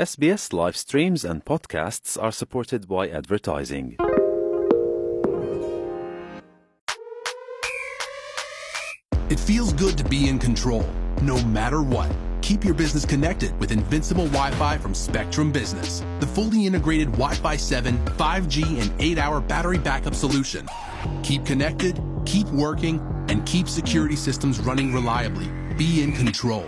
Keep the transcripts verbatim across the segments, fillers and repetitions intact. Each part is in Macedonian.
S B S live streams and podcasts are supported by advertising. It feels good to be in control, no matter what. Keep your business connected with Invincible Wi-Fi from Spectrum Business, the fully integrated Wi-Fi seven, five G, and eight hour battery backup solution. Keep connected, keep working, and keep security systems running reliably. Be in control.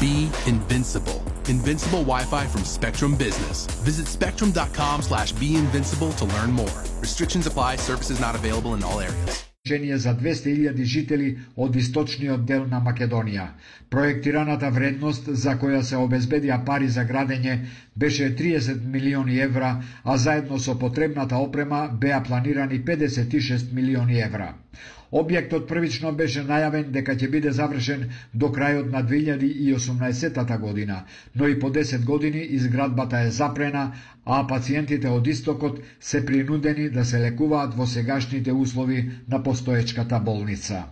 Be invincible. Invincible Wi-Fi from Spectrum Business. Visit spectrum.com slash be invincible to learn more. Restrictions apply. Services not available in all areas. За двесте илјади жители од источниот дел на Македонија. Проектираната вредност за која се обезбедија пари за градење беше триесет милиони евра, а заедно со потребната опрема беа планирани педесет и шест милиони евра. Објектот првично беше најавен дека ќе биде завршен до крајот на две илјади и осумнаесетта година, но и по десет години изградбата е запрена, а пациентите од истокот се принудени да се лекуваат во сегашните услови на постоечката болница.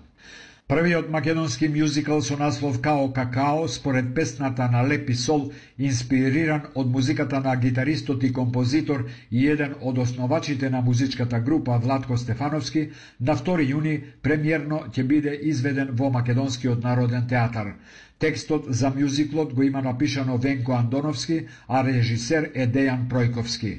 Првиот македонски мюзикал со наслов Као Какао, според песната на Лепи Сол, инспириран од музиката на гитаристот и композитор и еден од основачите на музичката група Владко Стефановски, на втори јуни премиерно ќе биде изведен во Македонскиот народен театар. Текстот за мюзиклот го има напишано Венко Андоновски, а режисер е Дејан Пројковски.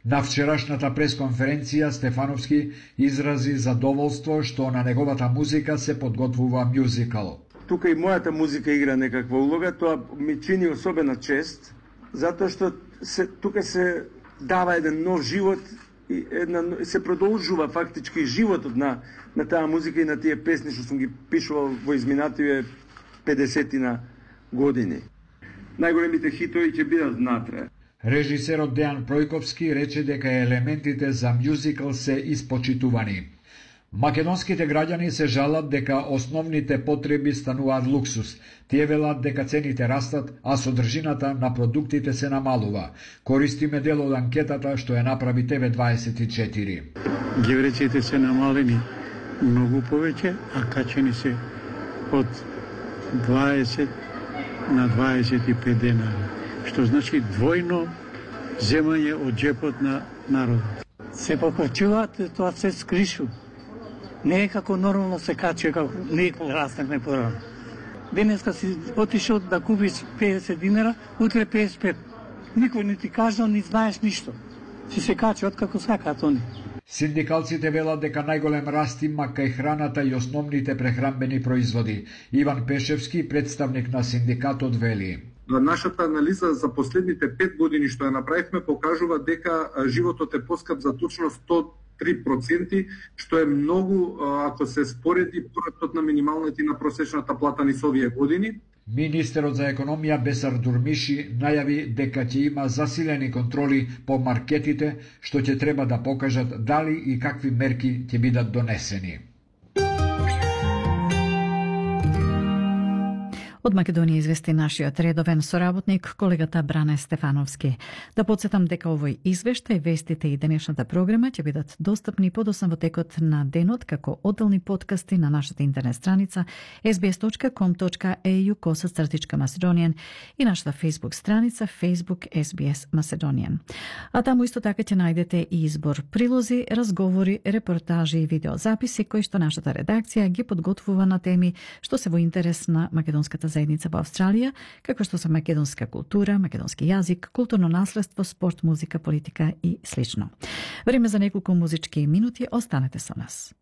На вчерашната пресконференција Стефановски изрази задоволство што на неговата музика се подготвува мюзикал. Тука и мојата музика игра некаква улога, тоа ми чини особена чест, затоа што се, тука се дава еден нов живот и една, се продолжува фактички животот на, на таа музика и на тие песни што сум ги пишувал во изминативе педесетина години. Најголемите хитови ќе бидат внатре. Режисерот Дејан Пројковски рече дека елементите за мюзикал се испочитувани. Македонските граѓани се жалат дека основните потреби стануваат луксус. Тие велат дека цените растат, а содржината на продуктите се намалува. Користиме дел од анкетата што ја направи Т В дваесет и четири. Гевреците се намалени многу повеќе, а качени се од дваесет на дваесет и пет денари, што значи двојно земање од джепот на народот. Се покачуваат, тоа се скришу. Не е како нормално се качува, како некој раснахме порано. Денеска си отишол да купиш педесет динара, утре педесет и пет. Никој не ти кажа, не знаеш ништо. Си се качуваат како сакаат они. Синдикалците велат дека најголем раст има кај храната и основните прехранбени производи. Иван Пешевски, представник на синдикатот, вели: Нашата анализа за последните пет години што ја направивме покажува дека животот е поскап за точно сто три проценти, што е многу ако се спореди порастот на минималната и на просечната плата низ овие години. Министерот за економија Бесар Дурмиши најави дека ќе има засилени контроли по маркетите, што ќе треба да покажат дали и какви мерки ќе бидат донесени. Од Македонија извести нашиот редовен соработник, колегата Бране Стефановски. Да подсетам дека овој извештај, вестите и денешната програма ќе бидат достапни подоцна во текот на денот како одделни подкасти на нашата интернет страница ес би ес точка ком точка е ю косацртичка Macedonian и нашата Facebook страница Facebook ес би ес Macedonian. А таму исто така ќе најдете и избор прилози, разговори, репортажи и видеозаписи кои што нашата редакција ги подготвува на теми што се во интерес на македонската заедница во Австралија, како што се македонска култура, македонски јазик, културно наследство, спорт, музика, политика и слично. Време за неколку музички минути, останете со нас.